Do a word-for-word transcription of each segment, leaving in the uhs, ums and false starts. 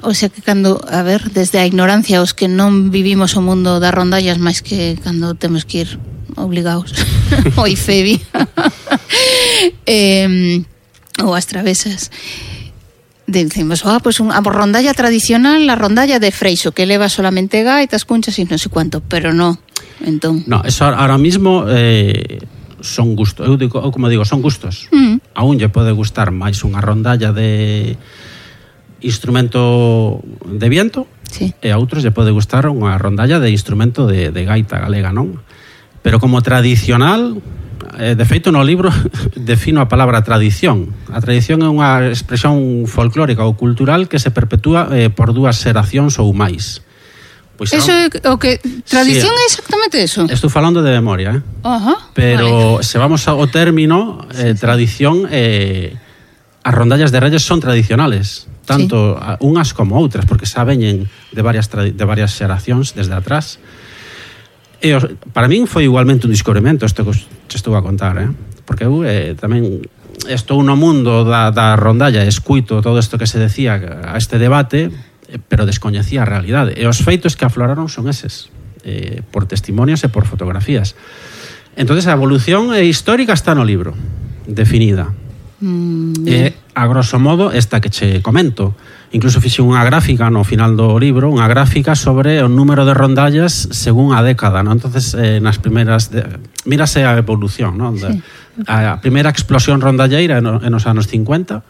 o sea que cando, a ver, desde a ignorancia os que non vivimos o mundo das rondallas máis que cando temos que ir obligados oi Febi eh, ou as travesas decimos, ah, pues un, a rondalla tradicional, la rondalla de Freixo que leva solamente gaitas, cunchas e non sei cuánto, pero no, entón no, eso ahora mismo eh, son gustos, eu, digo, eu como digo, son gustos mm. a un lle pode gustar máis unha rondalla de instrumento de viento, sí. E a outros lle pode gustar unha rondalla de instrumento de, de gaita galega, non? Pero como tradicional, eh, de feito no libro defino a palabra tradición. A tradición é unha expresión folclórica ou cultural que se perpetúa eh, por dúas xeracións ou máis. Pois eso é o que tradición sí, é exactamente eso. Estou falando de memoria, eh? Uh-huh, pero vale. Se vamos ao término eh, sí, tradición, eh, as rondallas de Reyes son tradicionales, tanto sí. unhas como outras, porque xa veñen de varias de varias xeracións desde atrás. E os, para min foi igualmente un descubrimento isto que te estou a contar, eh? Porque eu eh, tamén estou no mundo da, da rondalla, escuito todo isto que se decía a este debate, pero descoñecía a realidade. E os feitos que afloraron son eses, eh, por testimonios e por fotografías. Entonces a evolución histórica está no libro, definida. Mm, e a grosso modo esta que che comento. Incluso fixe unha gráfica no final do libro, unha gráfica sobre o número de rondallas según a década, ¿no? Entonces eh, nas primeiras de, mírase a evolución, ¿no? Sí. A primeira explosión rondalleira en nos anos cincuenta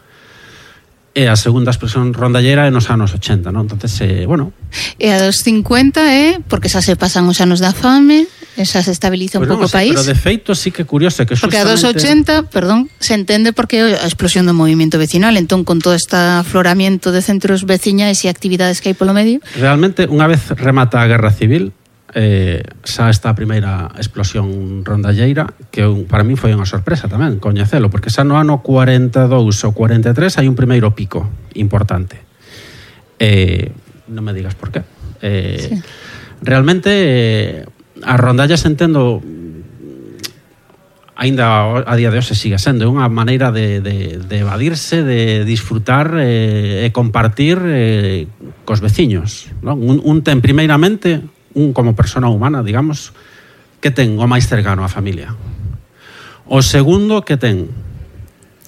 e a segunda expresión rondallera é nos anos ochenta, non? Entonces, eh, bueno... E a dos cincuenta é, eh, porque xa se pasan os anos da fame, xa se estabiliza un pues pouco o país. Pero de feito sí que é curioso que porque justamente... a dos ochenta, perdón, se entende porque a explosión do movimento vecinal, entón con todo este afloramiento de centros veciñais e actividades que hai polo medio... Realmente, unha vez remata a Guerra Civil, eh, xa esta primeira explosión rondalleira, que un, para mí foi unha sorpresa tamén coñecelo, porque xa no ano cuarenta e dous ou cuarenta e tres hai un primeiro pico importante. Eh, non me digas por qué. Eh, sí. Realmente eh, as rondallas entendo aínda a día de hoxe sigue sendo unha maneira de, de, de evadirse, de disfrutar eh, e compartir eh, cos veciños, non? Un, un ten primeiramente un como persona humana, digamos, que ten o máis cercano á familia. O segundo que ten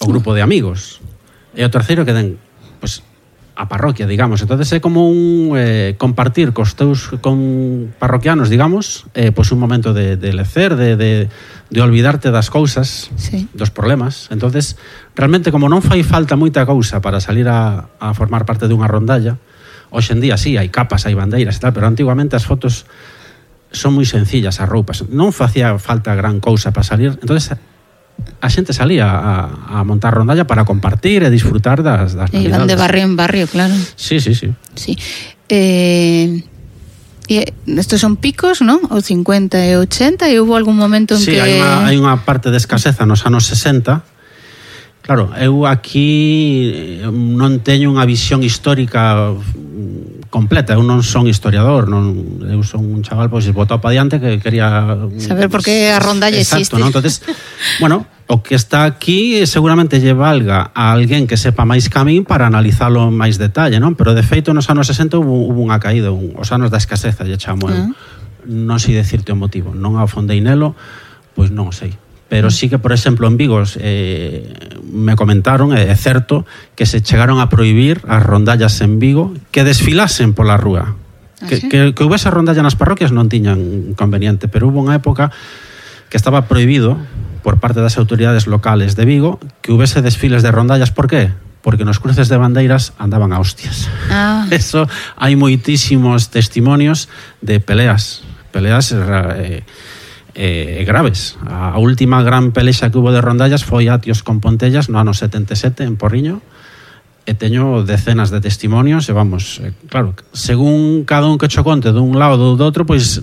o grupo de amigos. E o terceiro que ten, pues, a parroquia, digamos. Entonces é como un eh, compartir cos teus con parroquianos, digamos, eh, pues un momento de, de lecer, de, de, de olvidarte das cousas, sí. dos problemas. Entonces, realmente, como non fai falta moita cousa para salir a, a formar parte dunha rondalla, hoxe en día sí, hai capas, hai bandeiras e tal, pero antiguamente as fotos son moi sencillas, as roupas. Non facía falta gran cousa para salir. Entonces a xente salía a, a montar rondalla para compartir e disfrutar das, das navidades. Iban de barrio en barrio, claro. Sí, sí, sí. Sí. Eh, e estos son picos, ¿no? O cincuenta e ochenta, e hubo algún momento en sí, que... Sí, hai unha, hai unha parte de escaseza nos anos sesenta. Claro, eu aquí non teño unha visión histórica completa, eu non son historiador, non, eu son un chaval pois botado pa diante que quería saber por que a rondalla existe. Exacto, ¿no? Entonces, bueno, o que está aquí seguramente lle valga a alguén que sepa máis que a min para analizalo en máis detalle, non? Pero de feito nos anos sesenta hubo, hubo unha caída, un, os anos da escaseza, lle chamo eu. Uh-huh. Non sei decirte o motivo, non afondei nelo, pois non o sei. Pero sí que, por exemplo, en Vigo eh, me comentaron, é certo, que se chegaron a prohibir as rondallas en Vigo que desfilasen pola rúa. ¿Ah, que, sí? que, que houvese rondalla nas parroquias non tiñan inconveniente, pero hubo unha época que estaba prohibido por parte das autoridades locales de Vigo que houvese desfiles de rondallas. Por qué? Porque nos cruces de bandeiras andaban a hostias. Ah. Eso, hai moitísimos testimonios de peleas, peleas... Eh, Eh, graves. A última gran pelexa que hubo de rondallas foi Atios con Pontellas no ano setenta e sete en Porriño, e teño decenas de testimonios e vamos, eh, claro, según cada un que cho conte dun lado ou do outro, pois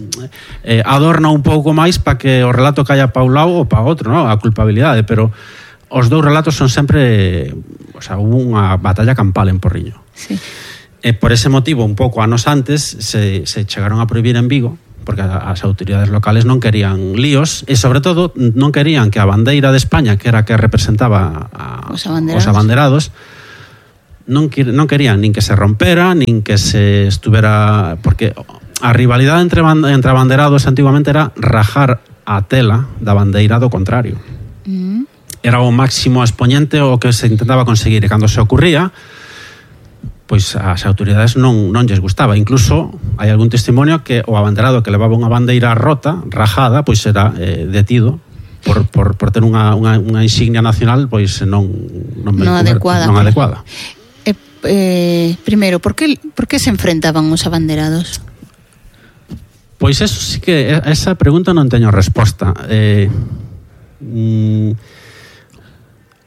eh, adorna un pouco máis para que o relato caia pa un lado ou pa outro, ¿no? A culpabilidade, pero os dous relatos son sempre, o sea, hubo unha batalla campal en Porriño. Sí. E por ese motivo, un pouco anos antes se, se chegaron a prohibir en Vigo, porque as autoridades locales non querían líos e, sobre todo, non querían que a bandeira de España, que era a que representaba a, os abanderados, os abanderados non, non querían nin que se rompera, nin que se estuvera... Porque a rivalidade entre, entre abanderados antiguamente era rajar a tela da bandeira do contrario. Mm. Era o máximo expoñente o que se intentaba conseguir, e cando se ocurría, pois as autoridades non, non lles gustaba. Incluso hai algún testimonio que o abanderado que levaba unha bandeira rota, rajada, pois era eh, detido por, por, por ter unha, unha, unha insignia nacional pois non, non, non adecuada. Non adecuada. Eh, eh, primeiro, por que, por que se enfrentaban os abanderados? Pois eso sí que, esa pregunta non teño resposta. Eh, mm,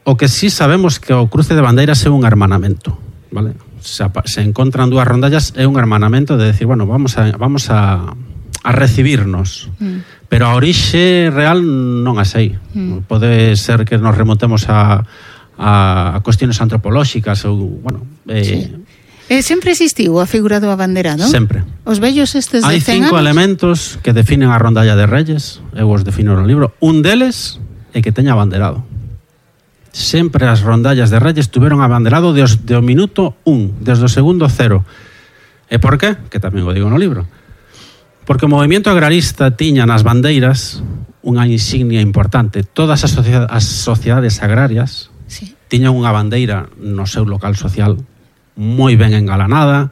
o que sí sabemos que o cruce de bandeiras é un hermanamento, vale? Se, se encontran dúas rondallas, é un hermanamento de decir, bueno, vamos a, vamos a, a recibirnos. Mm. Pero a orixe real non a sei. Mm. Pode ser que nos remontemos a, a, a cuestiones antropolóxicas ou, bueno... Eh, sí. Eh, sempre existiu a figura do abanderado? Sempre. Os vellos estes de Hai cen cinco anos? elementos que definen a rondalla de Reyes, eu os defino no libro. Un deles é que teña abanderado. Sempre as rondallas de Reyes tuveron abanderado de, os, de o minuto un, desde o segundo cero. E por qué? Que tamén o digo no libro. Porque o movimento agrarista tiña nas bandeiras unha insignia importante. Todas as, sociedades, as sociedades agrarias sí. tiñan unha bandeira no seu local social moi ben engalanada,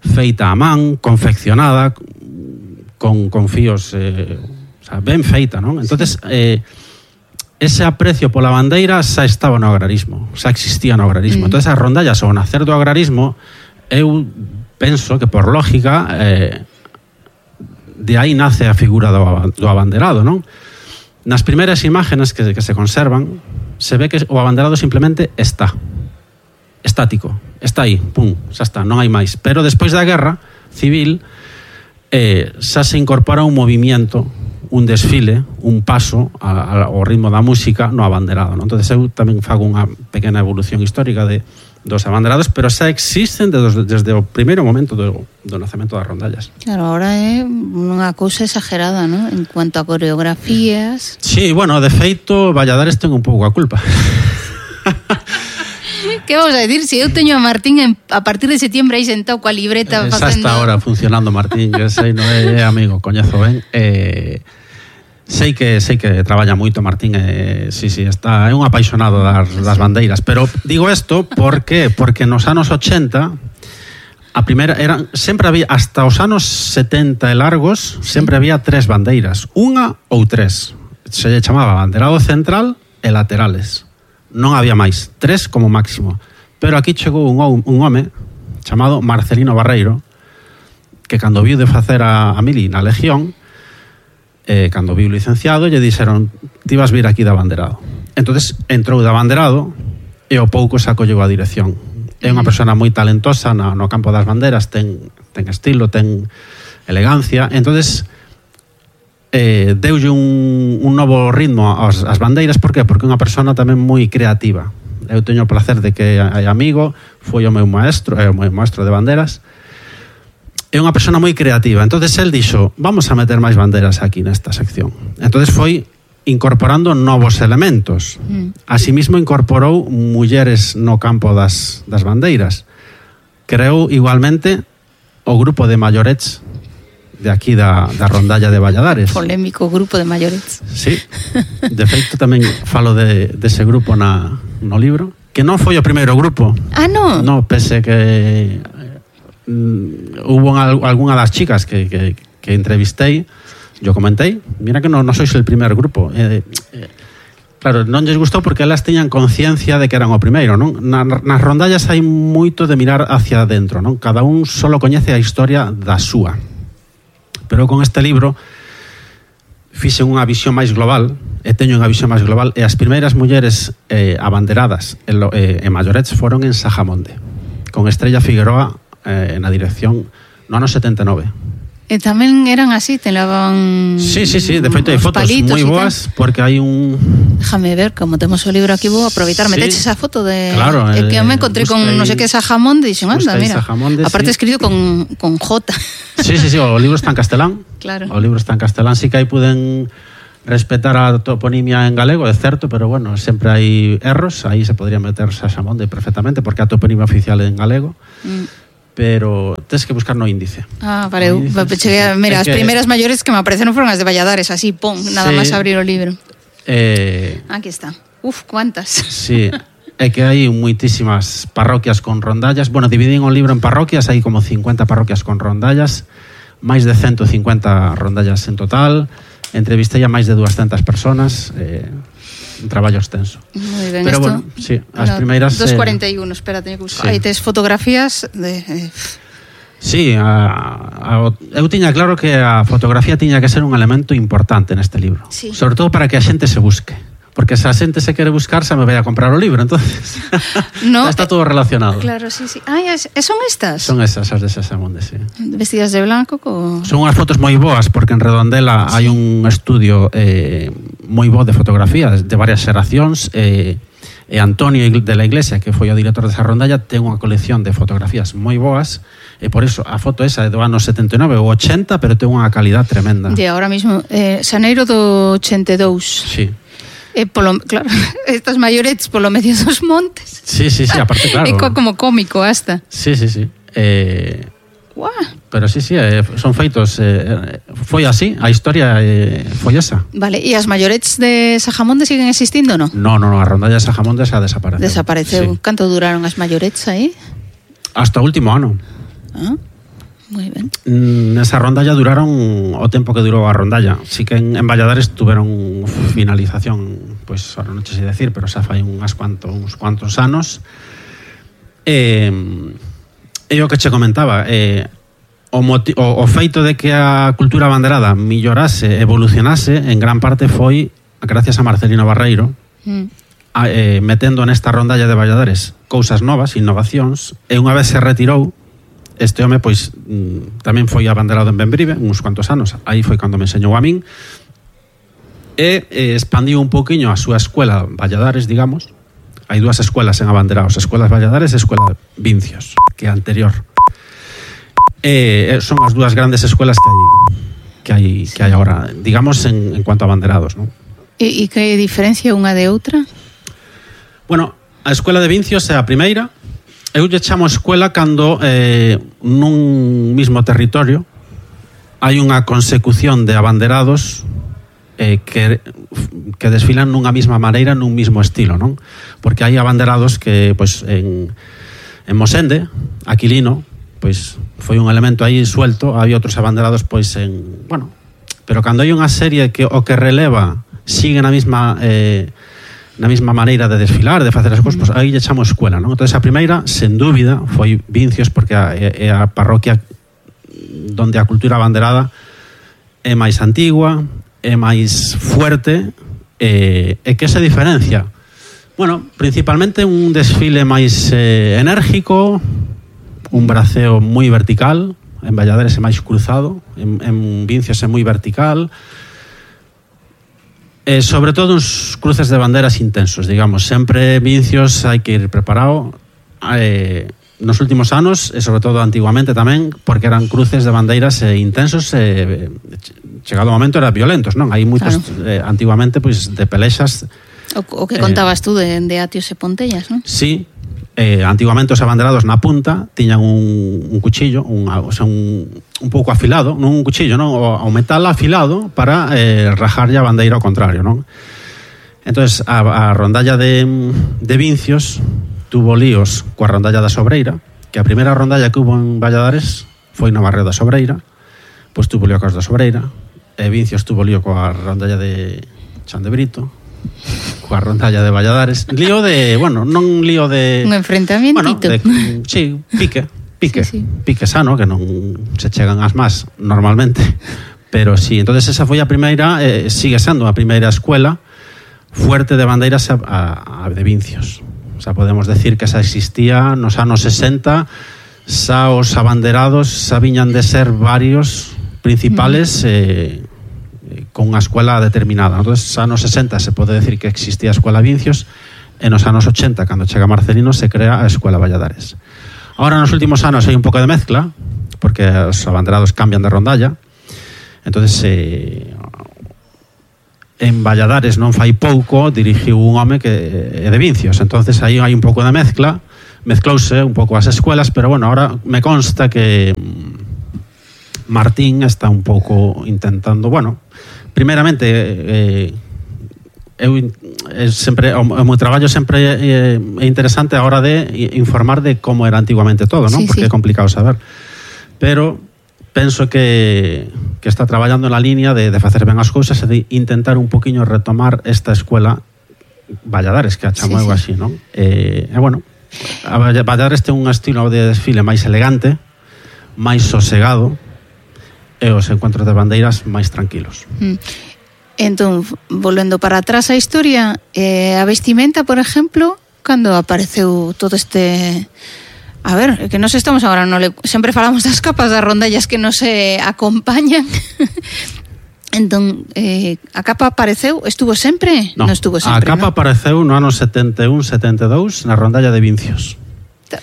feita a man, confeccionada, con, con fíos, eh, o sea, ben feita, non? Entonces, eh, ese aprecio pola bandeira xa estaba no agrarismo, xa existía no agrarismo. Mm. Entonces, as rondallas ao nacer do agrarismo, eu penso que por lógica eh, de aí nace a figura do, do abanderado, non? Nas primeiras imágenes que, que se conservan, se ve que o abanderado simplemente está. Estático, está aí, pum, xa está, non hai máis. Pero despois da guerra civil eh, xa se incorpora un movimiento, un desfile, un paso a, a, ao ritmo da música no abanderado, non? Entón eu tamén fago unha pequena evolución histórica de, dos abanderados, pero xa existen desde, desde o primeiro momento do, do nacemento das rondallas. Claro, ahora é unha cousa exagerada, non? En cuanto a coreografías. Sí, bueno, de feito Valladares ten un pouco a culpa. Que vamos a decir? Se eu teño a Martín en, a partir de septiembre aí sentado coa libreta eh, facendo... Xa está ahora funcionando Martín, eu sei, non é, é amigo, coñezo ben. Eh, sei que sei que traballa moito Martín, eh, sí, sí, está, é un apaixonado das, das bandeiras, pero digo isto porque porque nos anos ochenta a primeira eran sempre había hasta os anos setenta e largos, sempre había tres bandeiras, unha ou tres. Se lle chamaba banderado central e laterales. Non había máis, tres como máximo. Pero aquí chegou un, un home chamado Marcelino Barreiro, que cando viu de facer a, a mili na Legión, eh, cando viu licenciado, lle dixeron, ti vas vir aquí de abanderado. Entonces entrou de abanderado e o pouco se acolleu a dirección. É unha persona moi talentosa no, no campo das banderas, ten, ten estilo, ten elegancia. Entonces eh, deulle un, un novo ritmo ás, ás bandeiras. Por qué? Porque é unha persona tamén moi creativa. Eu teño o placer de que é amigo, foi o meu maestro, é o meu maestro de banderas. É unha persona moi creativa. Entonces el dixo, vamos a meter máis banderas aquí nesta sección. Entonces foi incorporando novos elementos. Mm. Asimismo incorporou mulleres no campo das, das bandeiras. Creou igualmente o grupo de maiorets de aquí da, da rondalla de Valladares. Polémico grupo de maiorets. Sí, de feito tamén falo de, de ese grupo na, no libro, que non foi o primeiro grupo. Ah, non? No, pese que mm, hubo algunha das chicas que, que, que entrevistei, yo comentei, mira que non no sois el primer grupo. Eh, eh, claro, non lles gustou porque elas teñan conciencia de que eran o primeiro, non? Na, nas rondallas hai moito de mirar hacia adentro, non? Cada un solo coñece a historia da súa. Pero con este libro fixen unha visión máis global, e teño unha visión máis global, e as primeiras mulleres eh, abanderadas e eh, eh, maiorets foron en Sajamonde, con Estrella Figueroa eh, na dirección no ano setenta e nove. E tamén eran así, te lavan... Sí, sí, sí, de feito hai fotos moi boas, porque hai un... Déjame ver, como temos o libro aquí, vou aproveitar, sí. Meteche esa foto de... Claro. É que eu me encontré con non sei que Sajamonde, e dixen, anda, mira, Sajamonde, aparte sí. escrito con, con J. Sí, sí, sí, o libro está en castelán. Claro. O libro está en castelán, sí que aí puden respetar a toponimia en galego, é certo, pero bueno, sempre hai erros, aí se podría meter Saxamonde perfectamente, porque a toponimia oficial é en galego, mm. pero tens que buscar no índice. Ah, vale, no índice, cheguei, sí, mira, as que... primeiras maiores que me apareceron foron as de Valladares, así, pum, nada sí, máis abrir o libro. Eh... Aquí está. Uf, cuántas. Sí, é que hai moitísimas parroquias con rondallas, bueno, dividín o libro en parroquias, hai como cincuenta parroquias con rondallas, máis de ciento cincuenta rondallas en total. Entrevistei a máis de doscientas personas, eh, un traballo extenso. Moi ben, pero esto, bueno, sí, as no, primeiras... dos cuarenta y uno, eh, espera, teño que buscar. Sí. Aí tes fotografías de... Eh. Sí, a, a, eu tiña claro que a fotografía tiña que ser un elemento importante neste libro. Sí. Sobre todo para que a xente se busque. Porque se a xente se quere buscar, se me vai a comprar o libro, entonces no, está todo relacionado. Claro, sí, sí. Ah, son estas? Son esas, as de Saxamonde, sí. Vestidas de blanco? Co... Son unhas fotos moi boas, porque en Redondela sí. hai un estudio eh, moi bo de fotografía, de varias xeracións, e eh, Antonio de la Iglesia, que foi o director desa rondalla, ten unha colección de fotografías moi boas, e por iso a foto esa é do ano setenta e nove ou ochenta, pero ten unha calidad tremenda. De ahora mismo, eh, xaneiro do ochenta e dous. Sí. Eh, polo, claro, estas maiorets polo medio dos montes. Sí, sí, sí, aparte, claro. É como cómico hasta. Sí, sí, sí. Eh, Guau. Pero sí, sí, eh, son feitos. Eh, foi así, a historia eh, foi esa. Vale, e as maiorets de Saxamonde siguen existindo, non? No, no, no, a rondalla de Saxamonde xa desapareceu. Desapareceu. Sí. Canto duraron as maiorets aí? Hasta o último ano. Ah. Moi ben. Nesa rondalla duraron o tempo que durou a rondalla. Sí que en, en Valladares tuveron finalización, pois, pues, ahora non sei decir, pero xa fai unhas cuantos, uns cuantos anos. E, e o que che comentaba, eh, o, moti- o, o feito de que a cultura banderada millorase, evolucionase, en gran parte foi gracias a Marcelino Barreiro, mm. a, eh, metendo nesta rondalla de Valladares cousas novas, innovacións, e unha vez se retirou, este home, pois, tamén foi abanderado en Bembrive, uns cuantos anos, aí foi cando me enseñou a min, e eh, expandiu un poquinho a súa escuela Valladares, digamos. Hai dúas escuelas en abanderados, escuelas Valladares e escuela Vincios, que é anterior. E son as dúas grandes escuelas que hai que hai, que hai agora, digamos, en, en cuanto a abanderados, non? E, e que diferencia unha de outra? Bueno, a escuela de Vincios é a primeira. Eu lle chamo escuela cando eh, nun mismo territorio hai unha consecución de abanderados eh, que, que desfilan nunha mesma maneira, nun mismo estilo, non? Porque hai abanderados que, pois, en, en Mosende, Aquilino, pois, foi un elemento aí suelto, había outros abanderados, pois, en, bueno, pero cando hai unha serie que o que releva sigue na mesma... Eh, na mesma maneira de desfilar, de facer as cousas, pues, aí lle chamo escuela, non? Entón, a primeira, sen dúbida, foi Vincios, porque é a parroquia donde a cultura abanderada é máis antigua, é máis fuerte, e, e que se diferencia? Bueno, principalmente un desfile máis eh, enérgico, un braceo moi vertical, en Valladares é máis cruzado, en, en Vincios é moi vertical, Eh, sobre todo uns cruces de banderas intensos, digamos, sempre Vincios hai que ir preparado, eh, nos últimos anos, e sobre todo antiguamente tamén, porque eran cruces de bandeiras eh, intensos, e eh, chegado o momento eran violentos, non? Hai moitos, claro. eh, antiguamente, pois, de pelexas. O, o que contabas eh, tú de, de Atios e Pontellas, non? Sí, eh, antiguamente os abanderados na punta tiñan un, un cuchillo, un, o sea, un, un pouco afilado, non un cuchillo, non? O, o metal afilado para eh, rajarlle a bandeira ao contrario, non? Entonces a, a rondalla de, de Vincios tuvo líos coa rondalla da Sobreira, que a primeira rondalla que hubo en Valladares foi no barrio da Sobreira, pois tuvo lío coas da Sobreira, e Vincios tuvo lío coa rondalla de Chan de Brito, coa rondalla de Valladares, lío de, bueno, non lío de un enfrentamiento, bueno, sí, pique, pique, sí, sí. pique sano, que non se chegan as más normalmente, pero sí, entonces esa foi a primeira, eh, sigue sendo a primeira escuela fuerte de bandeiras a, a, a de Vincios. O sea, podemos decir que esa existía nos anos sesenta, xa os abanderados xa viñan de ser varios principales, mm. eh, con unha escuela determinada. Entonces, anos sesenta se pode decir que existía a escuela Vincios, e nos anos ochenta, cando chega Marcelino, se crea a escuela Valladares. Ahora, nos últimos anos, hai un pouco de mezcla, porque os abanderados cambian de rondalla. Entonces, eh, en Valladares non fai pouco dirixiu un home que é de Vincios, entonces aí hai un pouco de mezcla, mezclouse un pouco as escuelas, pero bueno, ahora me consta que Martín está un pouco intentando, bueno, primeramente eh, eu é sempre o meu traballo sempre é, é interesante a hora de informar de como era antiguamente todo, ¿no? Sí, porque sí. É complicado saber, pero penso que, que está traballando na línea de, de facer ben as cousas e de intentar un poquinho retomar esta escuela Valladares, que a chamo sí, eu así, non? E, e bueno, a Valladares ten un estilo de desfile máis elegante, máis sosegado, e os encuentros de bandeiras máis tranquilos. Mm. Entón, volvendo para atrás a historia, eh, a vestimenta, por exemplo, cando apareceu todo este... A ver, que nos estamos agora, no le... sempre falamos das capas, das rondallas que nos eh, acompañan. Entón, eh, a capa apareceu, estuvo sempre? No, non estuvo sempre, a capa ¿no? Apareceu no ano setenta e un, setenta e dous na rondalla de Vincios.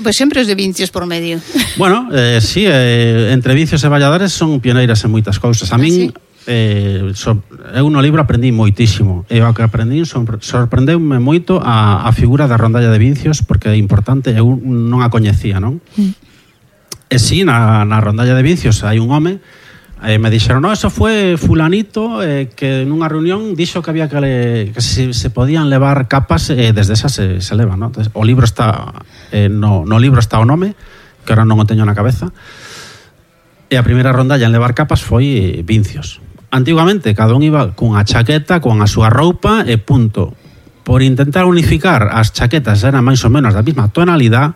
Pois sempre os de Vincios por medio. Bueno, eh, sí, eh, entre Vincios e Valladares son pioneiras en moitas cousas. A min... Ah, sí? Eh, so, eu no libro aprendí moitísimo e o que aprendí sorprendeume moito a, a figura da rondalla de Vincios, porque é importante, eu non a coñecía, non? Mm. E si, na, na rondalla de Vincios hai un home, eh, me dixeron, no, eso foi fulanito eh, que nunha reunión dixo que había que, le, que se, se podían levar capas e eh, desde esa se, se leva, non? Entonces, o libro está eh, no, no libro está o nome, que ahora non o teño na cabeza, e a primeira rondalla en levar capas foi eh, Vincios. Antiguamente cada un iba cunha chaqueta, con a súa roupa e punto. Por intentar unificar as chaquetas eran máis ou menos da mesma tonalidade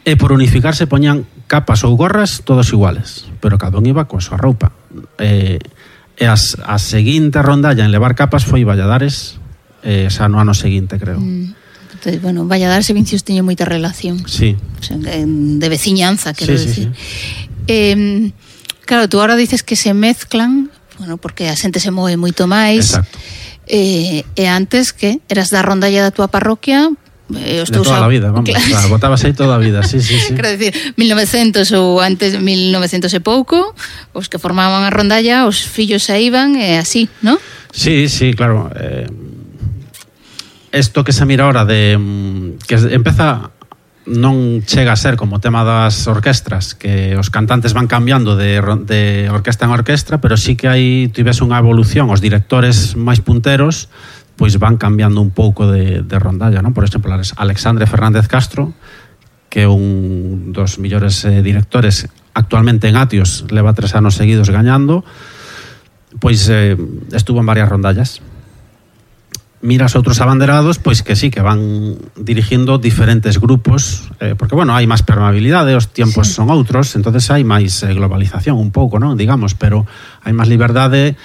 e por unificarse poñían capas ou gorras todos iguales, pero cada un iba coa súa roupa. E, e as, a seguinte rondalla en levar capas foi Valladares, e xa no ano seguinte, creo. Mm. Entonces, bueno, Valladares e Vincios teñen moita relación. Sí. O sea, de veciñanza, quero sí, decir. Sí, sí. Eh, claro, tú ahora dices que se mezclan, bueno, porque a xente se move moito máis. Exacto. Eh, e antes, que? Eras da rondalla da túa parroquia? Eh, de toda a vida, vamos. Claro, botabas aí toda a vida, sí, sí, sí. Quero dicir, mil novecientos ou antes de mil novecientos e pouco, os que formaban a rondalla, os fillos se iban e así, ¿no? Sí, sí, claro. Eh, esto que se mira ahora de... que empeza... non chega a ser como o tema das orquestras, que os cantantes van cambiando de, de orquesta en orquestra, pero sí que hai, tivese unha evolución, os directores máis punteros pois van cambiando un pouco de, de rondalla, non? Por exemplo, Alexandre Fernández Castro, que é un dos millores eh, directores actualmente en Atios, leva tres anos seguidos gañando, pois eh, estuvo en varias rondallas. Miras outros abanderados, pois que sí, que van dirigindo diferentes grupos, eh, porque, bueno, hai máis permeabilidade, os tiempos sí. son outros, entonces hai máis eh, globalización un pouco, non? Digamos, pero hai máis liberdade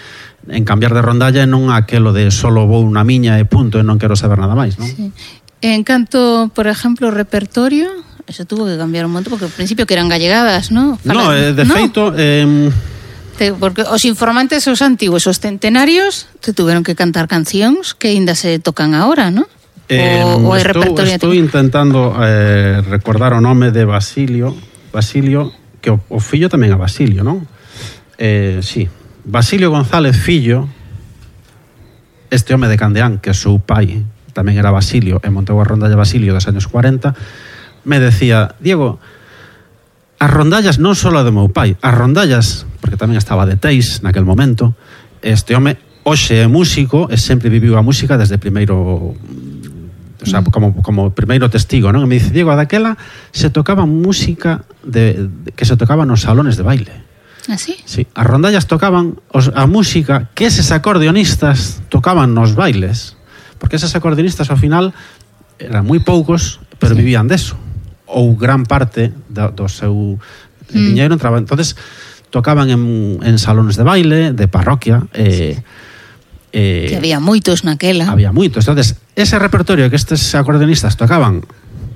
en cambiar de rondalla e non aquelo de solo vou unha miña e punto e non quero saber nada máis, non? Sí. En canto, por exemplo, repertorio, eso tuvo que cambiar un montón, porque ao principio que eran gallegadas, non? No, eh, de ¿no? feito... Eh, porque os informantes, os antigos, os centenarios, te tuveron que cantar cancións que ainda se tocan ahora, ¿no? Eh, o, o hai repertorio. Estou intentando eh, recordar o nome de Basilio, Basilio, que o, o fillo tamén é Basilio, non? Eh, sí, Basilio González Fillo, este home de Candeán, que é o seu pai, tamén era Basilio, e montou a rondalla Basilio dos anos cuarenta, me decía, Diego, as rondallas non só a do meu pai, as rondallas, porque tamén estaba de Teis naquel momento, este home hoxe é músico e sempre viviu a música desde primeiro, o sea, como, como primeiro testigo, non? E me dice, Diego, daquela se tocaba música de, de, que se tocaba nos salones de baile. ¿Ah, sí? Sí, as rondallas tocaban os, a música que eses acordeonistas tocaban nos bailes, porque eses acordeonistas ao final eran moi poucos, pero sí. vivían deso, ou gran parte do, do seu mm. diñeiro entraba. Entonces tocaban en, en salones de baile, de parroquia, eh, eh, que había moitos naquela. Había moitos. Entonces, ese repertorio que estes acordeonistas tocaban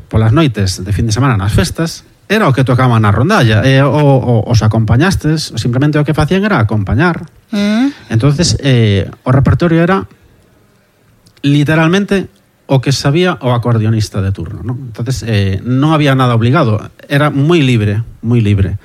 polas noites de fin de semana nas festas, era o que tocaban na rondalla, e o, o, os acompañastes, simplemente o que facían era acompañar. Mm. Entonces, eh, o repertorio era literalmente o que sabía o acordeonista de turno, ¿no? Entonces, eh, non había nada obligado, era moi libre, moi libre.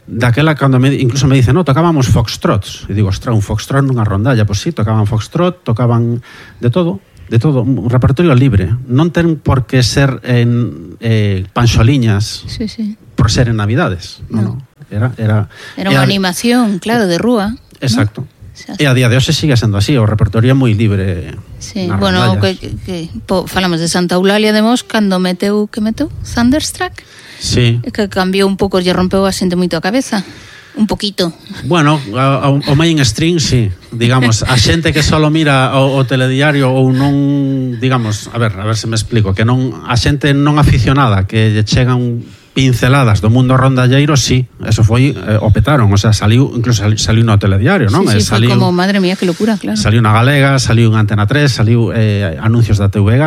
daquela cando me, incluso me dice, no, tocábamos foxtrots. E digo, ostra, un foxtrot nunha rondalla. Pois sí, tocaban foxtrot, tocaban de todo, de todo, un repertorio libre. Non ten por que ser en eh, panxoliñas sí, sí. por ser en Navidades. No, no. Era, era, era unha era, animación, claro, de rúa. Exacto. ¿No? E a día de hoxe sigue sendo así, o repertorio é moi libre. Sí, bueno, que, que, que po, falamos de Santa Eulalia de Mos cando meteu, que meteu? Thunderstruck? Sí. Que cambiou un pouco, lle rompeu a xente moito a cabeza. Un poquito. Bueno, o, o mainstream, sí. Digamos, a xente que solo mira o, o telediario ou non, digamos, a ver, a ver se me explico, que non a xente non aficionada, que lle chegan pinceladas do mundo rondalleiro, sí, eso foi, eh, o petaron, o sea, saliu, incluso saliu, saliu no telediario, non? Sí, sí, saliu, foi como, madre mía, que locura, claro. Saliu na Galega, saliu en Antena tres, saliu eh, anuncios da T V G,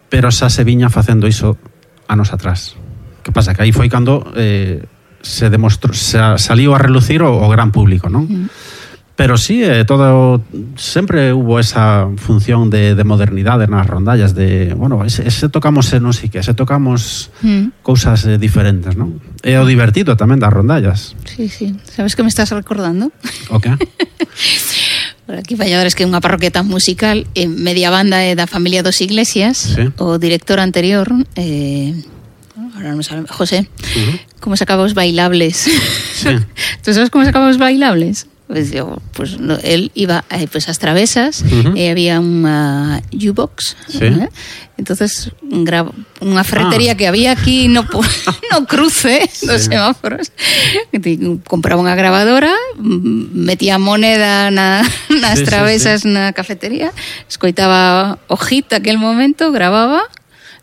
pero xa se viña facendo iso anos atrás. Que pasa? Que aí foi cando eh, se demostrou, se saliu a relucir o, o gran público, non? Mm. Pero sí, eh, todo sempre hubo esa función de, de modernidade nas rondallas, de, bueno, ese, ese tocamos non sei que, ese tocamos mm. cousas eh, diferentes, non? E o divertido tamén das rondallas. Sí, sí. Sabes que me estás recordando? O que? Por aquí Valladores, que é unha parroquia tan musical, eh, media banda é da familia dos Iglesias, sí. O director anterior, eh, ahora non sabe, José, uh-huh. Como sacaba os bailables. Sí. ¿Tú sabes como sacaba os bailables? Pues, yo, pues no, él iba eh, pues a las travesas, uh-huh. eh, había una U-Box, sí. ¿eh? Entonces gra- unha ferretería ah. que había aquí no, no cruce sí. dos semáforos, compraba unha grabadora, metía moneda na, nas sí, travesas sí, sí. na cafetería, escoitaba hojita aquel momento, grababa,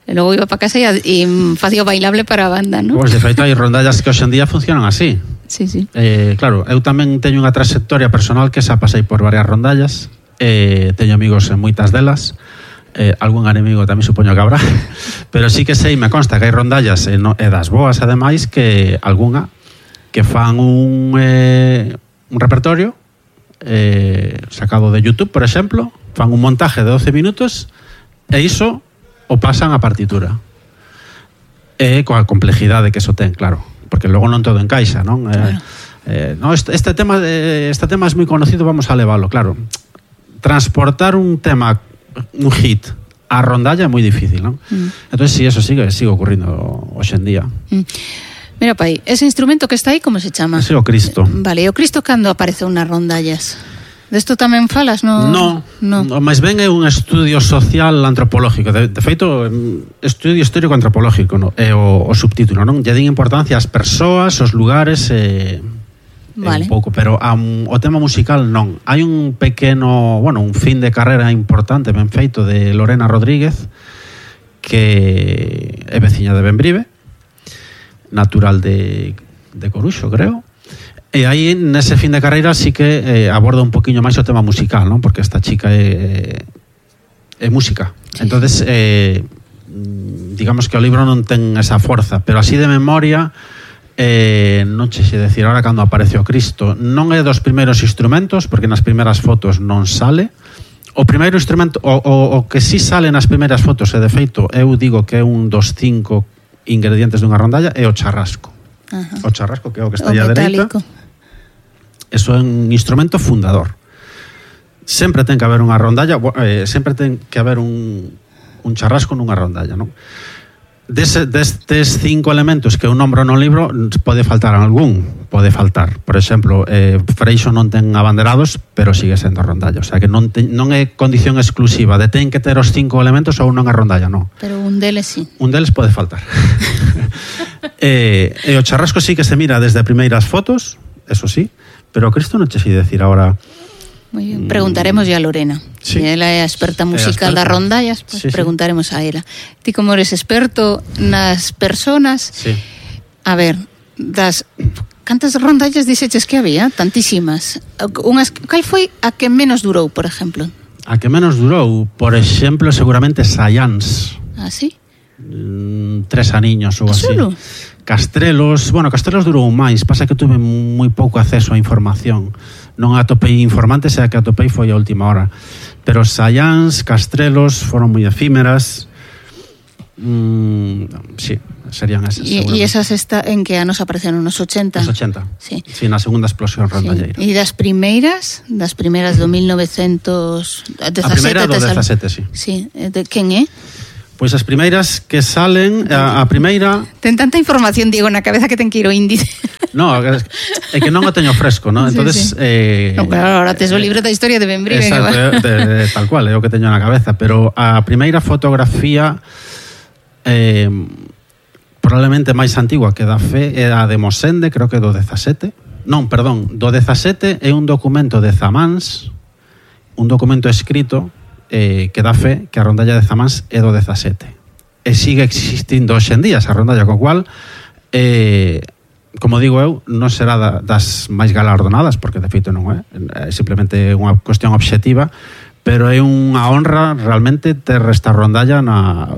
e logo iba para casa e, e facía o bailable para a banda, ¿no? Pois, pues, de feito, hai rondallas que hoxe en día funcionan así. Sí, sí. Eh, claro, eu tamén teño unha trayectoria personal que xa pasei por varias rondallas, eh, teño amigos en moitas delas, eh, algún enemigo tamén supoño que habrá, pero sí que sei, me consta que hai rondallas e, no, e das boas ademais que algunha que fan un, eh, un repertorio eh, sacado de YouTube, por exemplo, fan un montaje de doce minutos e iso o pasan a partitura, e coa complejidade que iso ten, claro, porque logo non todo encaixa, non? Claro. Eh, eh, no, este, este tema de, este tema es moi conocido, vamos a leválo, claro. Transportar un tema, un hit a rondalla é moi difícil, non? Mm. Entonces, si sí, eso sigue, sigue ocurrindo hoxe en día. Mm. Mira, pai, ese instrumento que está aí, como se chama? Ese é o Cristo. Vale, e o Cristo cando apareceu nas rondallas? Desto tamén falas, no? No, no. Mas ben é un estudio social antropológico. De, de feito, estudio histórico antropológico, no? É o, o subtítulo, non? Lle din importancia ás persoas, aos lugares, e, vale. Un pouco, pero um, o tema musical non. Hai un pequeno, bueno, un fin de carreira importante, ben feito, de Lorena Rodríguez, que é veciña de Bembrive, natural de, de Coruxo, creo. E aí, nese fin de carreira, sí que eh, aborda un poquinho máis o tema musical, non? Porque esta chica é, é música. Sí. Entonces, eh, digamos que o libro non ten esa forza, pero así de memoria, eh, non che xe decir, ahora cando aparece o Cristo, non é dos primeiros instrumentos, porque nas primeiras fotos non sale. O primeiro instrumento, o, o, o que sí sale nas primeiras fotos, e de feito, eu digo que é un dos cinco ingredientes dunha rondalla, é o charrasco. Ajá. O charrasco, que é o que está aí á dereita. Eso é un instrumento fundador. Sempre ten que haber unha rondalla, eh, sempre ten que haber un, un charrasco nunha rondalla, non? Des, destes cinco elementos que eu nombro no libro, pode faltar algún, pode faltar. Por exemplo, eh, Freixo non ten abanderados, pero sigue sendo rondalla. O sea, que non, te, non é condición exclusiva de ten que ter os cinco elementos ou non é rondalla, non. Pero un deles sí. Un deles pode faltar. e, e o charrasco sí que se mira desde primeiras fotos, eso sí, pero Cristo non che sei decir agora. Muy bien. Preguntaremos ya a Lorena. Sí. Ela é a experta musical das rondallas, pues sí, preguntaremos sí. a ela. Ti como eres experto nas personas, sí. A ver, das cantas rondallas dixeches que había? Tantísimas. Unhas, cal foi a que menos durou, por exemplo? A que menos durou, por exemplo, seguramente Sayans. Ah, sí? Mm, tres aniños ou así. Solo? Castrelos, bueno, Castrelos durou máis, pasa que tuve moi pouco acceso á información. Non atopei informantes, e a que atopei foi a última hora. Pero Sayans, Castrelos foron moi efímeras. Mm, sí, serían esas. E, e esas está, en que anos apareceron? Nos ochenta? Nos ochenta. Sí. Sí, na segunda explosión rondalleira. Sí. E das primeiras, das primeiras do mil novecientos dezasete. A primeira do dezasete, sí. Sí, de quen é? Pois as primeiras que salen, a, a primeira... Ten tanta información, Diego, na cabeza que ten que ir o índice. No, é que non o teño fresco, ¿no? Entonces, sí, sí. Eh, no, claro, ahora tes o libro da historia de Bembriven. Exacto, de, de, tal cual, é o que teño na cabeza. Pero a primeira fotografía eh, probablemente máis antigua que da fe é a de Mosende, creo que do dezasete. Non, perdón, do dezasete é un documento de Zamáns, un documento escrito eh, que dá fe que a rondalla de Zamáns é do dezasete. E sigue existindo hoxe en día esa rondalla, co cual, eh, como digo eu, non será da, das máis galardonadas, porque de feito non é, é simplemente unha cuestión obxectiva, pero é unha honra realmente ter esta rondalla na,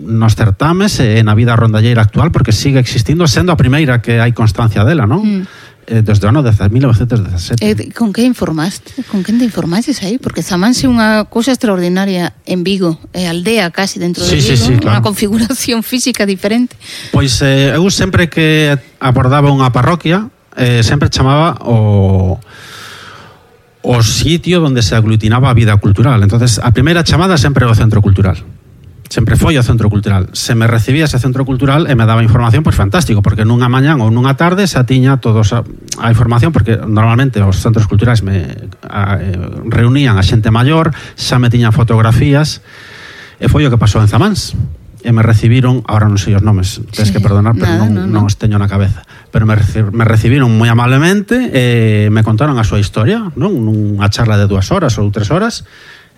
nos certames e na vida rondalleira actual, porque sigue existindo, sendo a primeira que hai constancia dela, non? Mm. Eh, desde o ano de mil novecientos dezasete. Eh, con que informaste? Con quen te informaste aí? Porque Zamáns é unha cousa extraordinaria en Vigo, é aldea casi dentro de sí, Vigo, sí, sí, claro. Unha configuración física diferente. Pois eh, eu sempre que abordaba unha parroquia, eh, sempre chamaba o o sitio onde se aglutinaba a vida cultural. Entonces, a primeira chamada sempre é o centro cultural. Sempre foi o centro cultural. Se me recibía ese centro cultural e me daba información, pois fantástico, porque nunha mañán ou nunha tarde xa tiña todos a, a información, porque normalmente os centros culturais me a, eh, reunían a xente maior, xa me tiñan fotografías, e foi o que pasou en Zamáns. E me recibiron, ahora non sei os nomes, tens sí, que perdonar, pero nada, non, non, non os teño na cabeza, pero me, me recibiron moi amablemente e me contaron a súa historia, non? Nunha charla de dúas horas ou tres horas,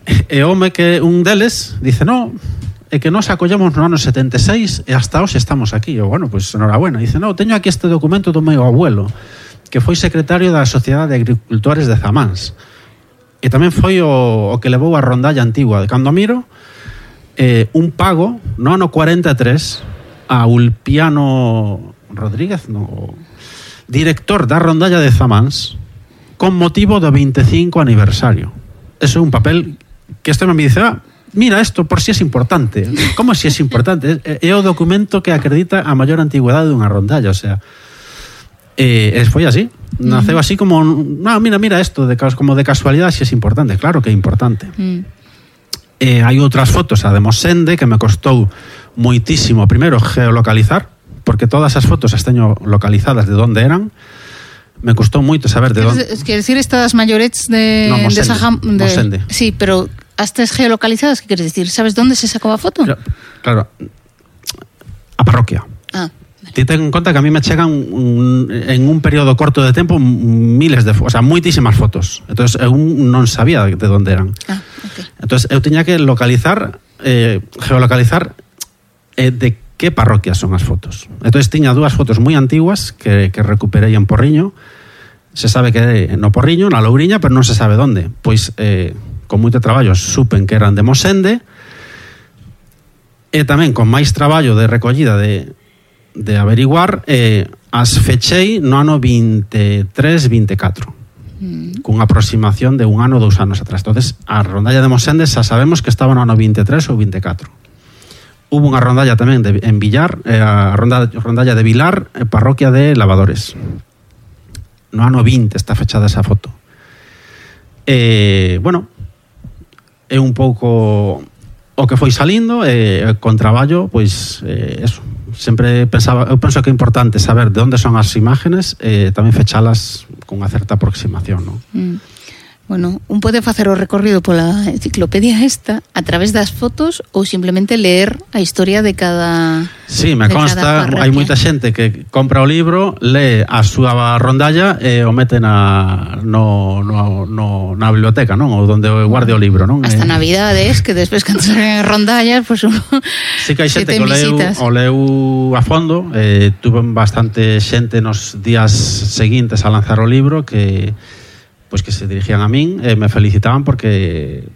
e home que un deles dice, no, é que nos acollemos no ano setenta e seis e hasta hoxe estamos aquí. E bueno, pois enhorabuena. Dice, no, teño aquí este documento do meu abuelo, que foi secretario da Sociedade de Agricultores de Zamáns, e tamén foi o, o que levou a rondalla antigua. De cando miro, eh, un pago no ano cuarenta e tres a Ulpiano Rodríguez, no, director da rondalla de Zamáns, con motivo do veinticinco aniversario. Eso é un papel que este me dice, ah, mira esto por si es importante. Como si es importante? É o documento que acredita a maior antigüedade dunha rondalla, o sea, eh, foi así. Naceu así como, no, mira, mira esto, de, como de casualidade, si es importante. Claro que é importante. Mm. Eh, hai outras fotos, a de Mosende, que me costou moitísimo, primeiro, geolocalizar, porque todas as fotos as teño localizadas de onde eran. Me costou moito saber de onde. Quer decir, estas maiorets de, no, Mosende, de Saham, de... Mosende. Sí, pero ¿Hasta geolocalizadas? ¿Qué quieres decir? ¿Sabes dónde se sacó a foto? Claro, claro. A parroquia. Ah. Ti ten en conta que a mí me chegan un, en un período corto de tempo miles de fotos, o sea, moitísimas fotos. Entonces eu non sabía de onde eran. Ah, okay. Entonces eu tiña que localizar, eh, geolocalizar eh, de que parroquias son as fotos. Entonces tiña dúas fotos moi antiguas que, que recuperei en Porriño. Se sabe que é no Porriño, na Louriña, pero non se sabe onde. Pois eh, con moito traballo supen que eran de Mosende, e tamén con máis traballo de recollida de de averiguar, eh, as fechei no ano veintitrés veinticuatro, mm. cunha aproximación de un ano, dous anos atrás. Entonces, a rondalla de Mosende xa sabemos que estaba no ano veintitrés ou veinticuatro. Hubo unha rondalla tamén de, en Villar, eh, a rondalla, rondalla de Vilar, eh, parroquia de Lavadores. No ano veinte está fechada esa foto. Eh, bueno, é un pouco o que foi salindo, e eh, con traballo, pois, eh, eso. Sempre pensaba, eu penso que é importante saber de onde son as imágenes e eh, tamén fechalas con unha certa aproximación, non? Mm. Bueno, un pode facer o recorrido pola enciclopedia esta a través das fotos ou simplemente leer a historia de cada. Sí, me consta, hai moita xente que compra o libro, lee a súa rondalla e o mete na no, no, no, na biblioteca, non? Ou onde guarde o libro, non? Hasta eh... navidades, que despois cando salen rondallas, pois pues, uno sí que hai xente que o leu, o leu a fondo, eh, tuve bastante xente nos días seguintes a lanzar o libro que pois que se dirigían a min e me felicitaban porque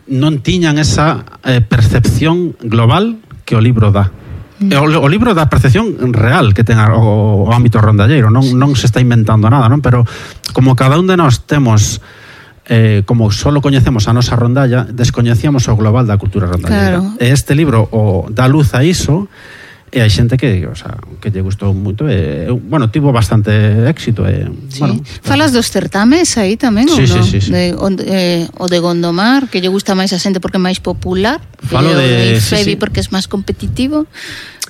non tiñan esa eh, percepción global que o libro dá. Mm. O, o libro dá percepción real que ten o, o ámbito rondalleiro, non, non se está inventando nada, non? Pero como cada un de nós temos eh, como solo coñecemos a nosa rondalla, descoñecíamos o global da cultura rondalleira. Claro. E este libro o dá luz a iso, e hai xente que, o sea, que lle gustou moito, e, bueno, tivo bastante éxito. E, Sí. bueno, Falas dos certames aí tamén, Sí, ou non? sí, sí, sí. De, o, eh, o de Gondomar, que lle gusta máis a xente porque é máis popular, Falo e o de- sí, Ifebi sí. porque é máis competitivo,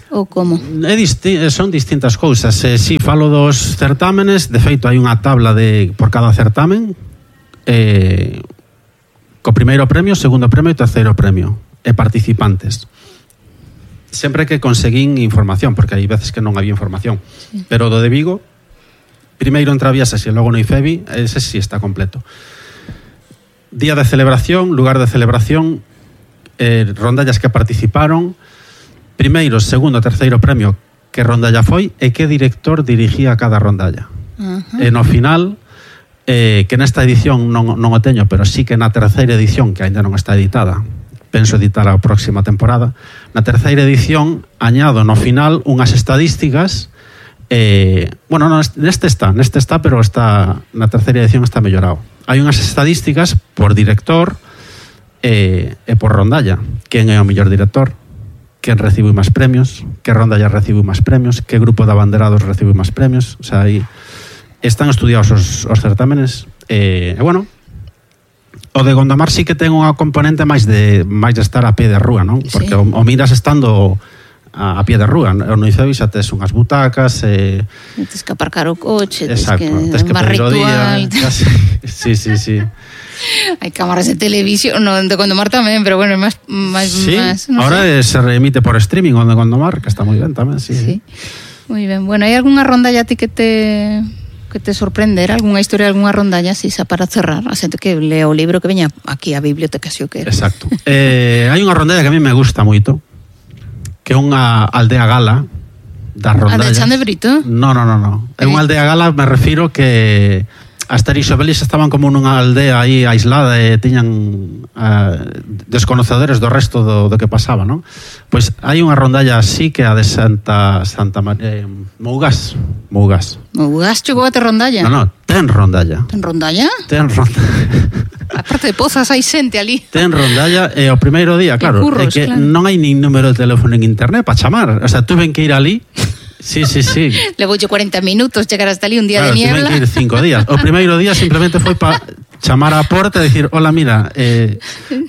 ou como? É disti son distintas cousas. Eh, si falo dos certámenes, de feito hai unha tabla de por cada certamen, eh, co primeiro premio, segundo premio e terceiro premio, e participantes. Sempre que conseguín información, porque hai veces que non había información. Sí. Pero do de Vigo, primeiro en Traviesas e logo no Ifebi, ese sí está completo. Día de celebración, lugar de celebración, eh, rondallas que participaron, primeiro, segundo, terceiro premio, que rondalla foi e que director dirigía cada rondalla. Ajá. E no final, eh, que nesta edición non, non o teño, pero sí que na terceira edición, que ainda non está editada, penso editar a próxima temporada, na terceira edición añado no final unhas estadísticas, eh, bueno, no, neste está, neste está, pero está na terceira edición está mellorado. Hai unhas estadísticas por director e, e por rondalla. Quen é o mellor director? Quen recibe máis premios? Que rondalla recibe máis premios? Que grupo de abanderados recibe máis premios? O sea, aí están estudiados os, os certámenes. E, e bueno, o de Gondomar sí que ten unha componente máis de máis de estar a pie de rúa, non? Porque sí. o, o miras estando a, a pie de rúa. O no Ifebi xa tes unhas butacas, e... Tens que aparcar o coche, exacto, tens que, tes que máis pedir o ritual. día. Sí, sí, sí. Hai cámaras de televisión, no, de Gondomar tamén, pero bueno, máis máis Sí, máis, no ahora sé. se remite por streaming o de Gondomar, que está moi ben tamén, sí. Sí. Moi ben. Bueno, hai algunha rondalla a ti que te que te sorprender, algunha historia, algunha rondalla así xa para cerrar, a xente que lee o libro que veña aquí a biblioteca, xo que. Exacto. Eh, hai unha rondalla que a mí me gusta moito, que é unha aldea gala das A rondallas. de Chan de Brito? No, no, no, no. É unha aldea gala, me refiro que Asterix e Obelix estaban como nunha aldea aí aislada e tiñan uh, desconocedores do resto do, do que pasaba, non? Pois hai unha rondalla así que a de Santa Santa María, eh, Mougás, Mougás. Mougás chegou a ter rondalla? No, no, ten rondalla. Ten rondalla? Ten rondalla. Aparte de Pozas hai xente ali. Ten rondalla e o primeiro día, claro, curros, é que claro. non hai nin número de teléfono en internet para chamar. O sea, tuven que ir ali. Sí, sí, sí. Levoulle cuarenta minutos chegar hasta ali un día Claro, de niebla. tuven que ir cinco días. O primeiro día simplemente foi para chamar á porta e dicir: hola, mira, eh,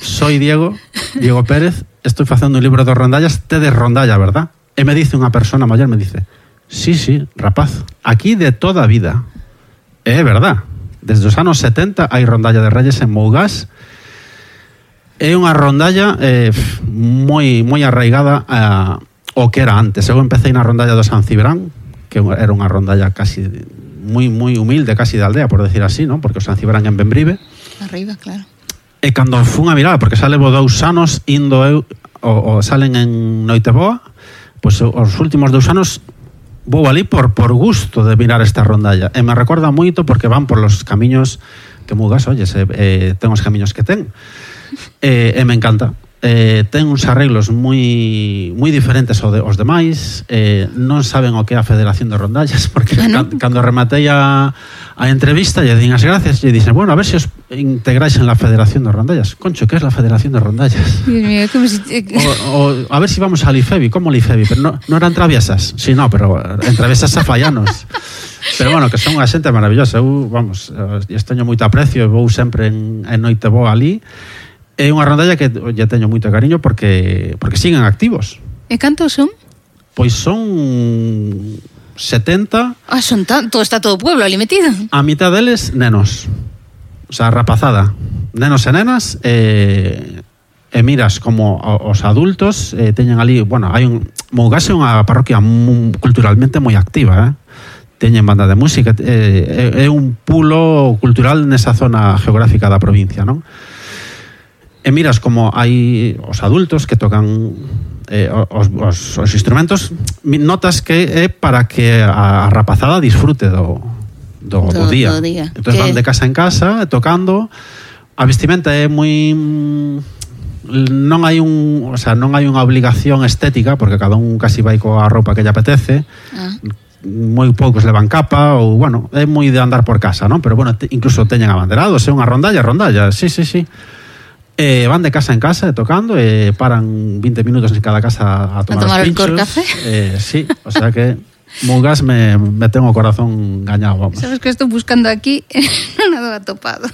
soy Diego, Diego Pérez, estoy facendo un libro de rondallas, tedes rondalla, verdad? E me dice unha persona maior, me dice: sí, sí, rapaz, aquí de toda a vida. E é verdad. Desde os anos setenta hai rondalla de Reyes en Mougás. É unha rondalla eh, moi moi arraigada a o que era antes. Eu empecé na rondalla do San Cibrán, que era unha rondalla casi moi moi humilde, casi de aldea, por decir así, ¿no? Porque o San Cibrán en Benbrive. Arriba, claro. E cando fun a mirar, porque xa levo dous anos indo eu, o, o salen en Noiteboa, pois os últimos dous anos vou ali por, por gusto de mirar esta rondalla. E me recorda moito porque van por los camiños que Mougás, oye, se, eh, ten os camiños que ten. E, e me encanta. Eh, ten uns arreglos moi moi diferentes aos, de, aos demais, eh, non saben o que é a Federación de Rondallas, porque ah, ¿no? ca, cando rematei a, a entrevista lle din as gracias e dicen, bueno, a ver se os integrais en la Federación de Rondallas. Concho, que é la Federación de Rondallas? Dios mío, como si... o, o, a ver si vamos al Ifebi, como el Ifebi, pero no, no eran traviesas, sí, no, pero en traviesas afallanos. Pero bueno, que son unha xente maravillosa. Eu, vamos, esteño moito aprecio e vou sempre en, en Noiteboa ali. É unha rondalla que lle teño moito cariño porque porque siguen activos. E cantos son? Pois son setenta. Ah, son tanto, está todo o pueblo ali metido. A mitad deles nenos. O sea, rapazada. Nenos e nenas e, e miras como os adultos eh, teñen ali, bueno, hai un Mougás é unha parroquia muy, culturalmente moi activa, eh? Teñen banda de música, eh, é un pulo cultural nesa zona geográfica da provincia, non? E miras como hai os adultos que tocan eh, os, os, os instrumentos, notas que é para que a, a rapazada disfrute do, do, do, do día. Do día. Entón van de casa en casa tocando. A vestimenta é moi... non hai un, o sea, non hai unha obligación estética porque cada un casi vai coa roupa que lle apetece. Ah. moi poucos levan capa, ou, bueno, é moi de andar por casa, non? Pero, bueno, te, incluso teñen abanderados, é unha rondalla, rondalla, sí, sí, sí. Eh, van de casa en casa, tocando, e paran vinte minutos en cada casa a tomar, a tomar os pinchos. el café. Eh, sí, o sea que Mugas me, me ten o corazón gañado, vamos. Sabes que estou buscando aquí, non o atopado.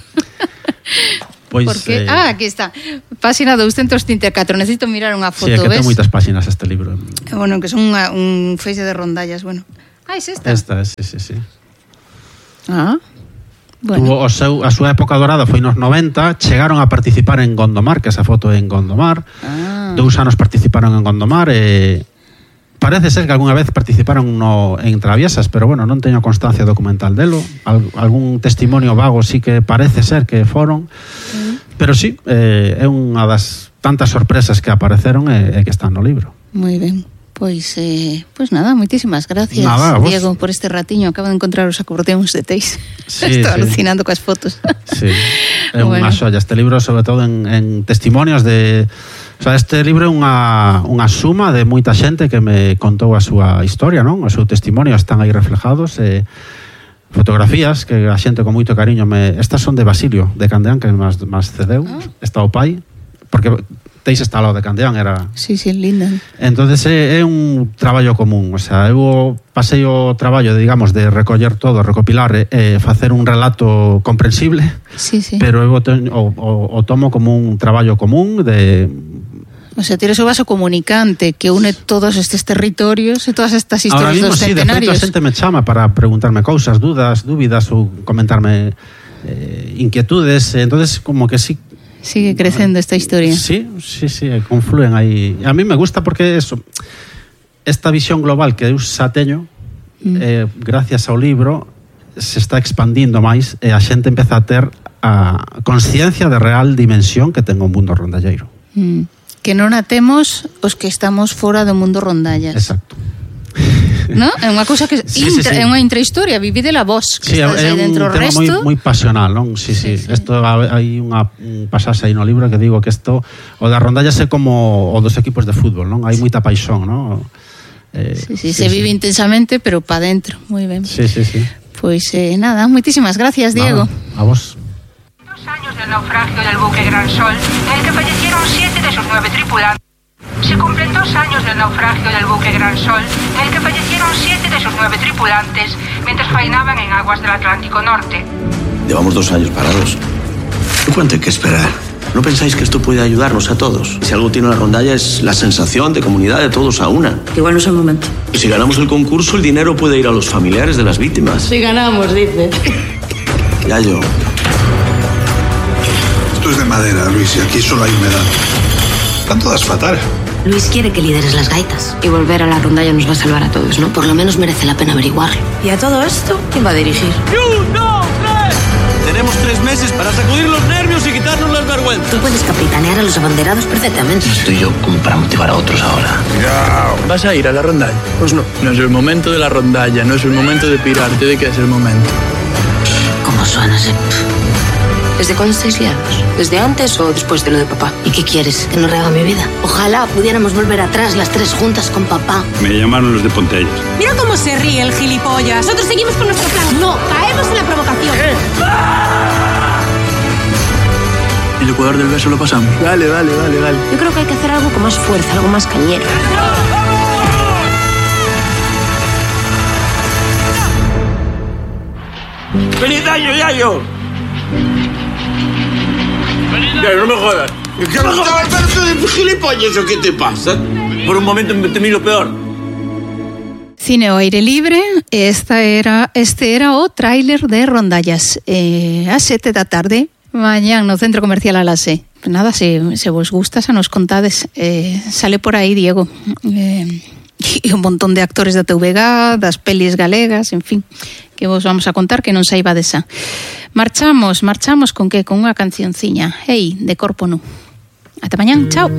Pois, Porque, eh, ah, aquí está. Páxina doscientos treinta e catro. Necesito mirar unha foto, sí, é que ves? ten moitas páxinas este libro. Bueno, que son unha, un feixe de rondallas, bueno. Ah, es esta? Esta, sí, sí, sí. Ah, bueno. Tuvo o seu, a súa época dorada foi nos noventa, chegaron a participar en Gondomar, que esa foto é en Gondomar. Ah. Dous anos participaron en Gondomar e parece ser que algunha vez participaron no, en Traviesas, pero bueno, non teño constancia documental delo. Al, algún testimonio vago sí que parece ser que foron. Mm. Pero sí, eh, é unha das tantas sorpresas que apareceron e, e que están no libro. Moi ben. Pois, eh, pois nada, moitísimas gracias, nada, Diego, por este ratiño. Acabo de encontrar os acordeóns de Teis. Sí, Estou sí. alucinando coas fotos. Sí, é Bueno. unha xolla. Este libro, sobre todo en, en testimonios de... O sea, este libro é unha, unha suma de moita xente que me contou a súa historia, non? O seu testimonio están aí reflejados. Eh, fotografías que a xente con moito cariño me... Estas son de Basilio, de Candeán, que máis, máis cedeu. Ah. Está o pai, porque Teis está ao lado de Candeán, era... Sí, sí, linda. Entonces é, é un traballo común, o sea, eu pasei o traballo, de, digamos, de recoller todo, recopilar e eh, facer un relato comprensible, Sí, sí. pero eu o, te- o, o, o tomo como un traballo común de... O sea, tienes o vaso comunicante que une todos estes territorios e todas estas Ahora historias mismo, dos sí, de feito, centenarios. a xente me chama para preguntarme cousas, dudas, dúbidas ou comentarme eh, inquietudes, entonces como que sí. Sigue crecendo esta historia. Sí, sí, sí, confluen aí. A mí me gusta porque eso, esta visión global que eu xa teño, mm. eh, gracias ao libro, se está expandindo máis e a xente empeza a ter a consciencia de real dimensión que ten o mundo rondalleiro. Mm. Que non a temos os que estamos fora do mundo rondallas. Exacto. ¿No? É unha cousa que Sí, intra, sí, sí. é unha intrahistoria, vividela vos, que Sí, estás é aí un dentro. O tema moi, resto, moi pasional, non? Sí, sí. Sí, sí. Esto hai unha un pasaxe aí no libro que digo que isto o da rondalla é como o dos equipos de fútbol, non? Hai moita paixón, non? Eh, sí, sí, se vive intensamente, pero pa dentro. Moi ben. Sí, sí, sí. Pois eh, nada, moitísimas gracias, Diego. Nada, a vos. Dos años del naufragio del buque Gran Sol, en el que fallecieron siete de sus nueve tripulantes. Se cumplen dos años del naufragio del buque Gran Sol, en el que fallecieron siete de sus nueve tripulantes mientras faenaban en aguas del Atlántico Norte. Llevamos dos años parados. ¿Cuánto hay que esperar? ¿No pensáis que esto puede ayudarnos a todos? Si algo tiene la rondalla es la sensación de comunidad de todos a una. Igual no es el momento. Y si ganamos el concurso, el dinero puede ir a los familiares de las víctimas. Si ganamos, dice. Ya yo. Esto es de madera, Luis, y aquí solo hay humedad. Están todas fatal. Luis quiere que lideres las gaitas. Y volver a la rondalla nos va a salvar a todos, ¿no? Por lo menos merece la pena averiguarlo. ¿Y a todo esto? ¿Quién va a dirigir? Tenemos tres meses para sacudir los nervios y quitarnos las vergüenzas. Tú puedes capitanear a los abanderados perfectamente. Estoy yo como para motivar a otros ahora. ¿Vas a ir a la rondalla? Pues no. No es el momento de la rondalla, no es el momento de pirarte. ¿De qué es el momento? ¿Cómo suenas, eh? ¿Desde cuándo estáis liados? ¿Desde antes o después de lo de papá? ¿Y qué quieres? ¿Que no rehaga mi vida? Ojalá pudiéramos volver atrás las tres juntas con papá. Me llamaron los de Pontellas. Mira cómo se ríe el gilipollas. Nosotros seguimos con nuestro plan. No, caemos en la provocación. El Ecuador del beso lo pasamos. Dale, dale, dale, dale. Yo creo que hay que hacer algo con más fuerza, algo más cañero. ¡Feliz año, Yayo! Yayo, no me jodas. ¿Qué me jodas? ¿Pero tú gilipollas o qué te pasa? Por un momento me temí lo peor. Cine ao aire libre, esta era, este era o tráiler de Rondallas. Eh, a sete da tarde, mañán no Centro Comercial Alase. Nada, se, se vos gusta, xa nos contades. Eh, sale por aí Diego. Eh, e un montón de actores da T V G, das pelis galegas, en fin, que vos vamos a contar que non saiba desa. Marchamos, marchamos con que? Con unha cancionciña. Hey, de Corpo Nu. Ata mañán, chao.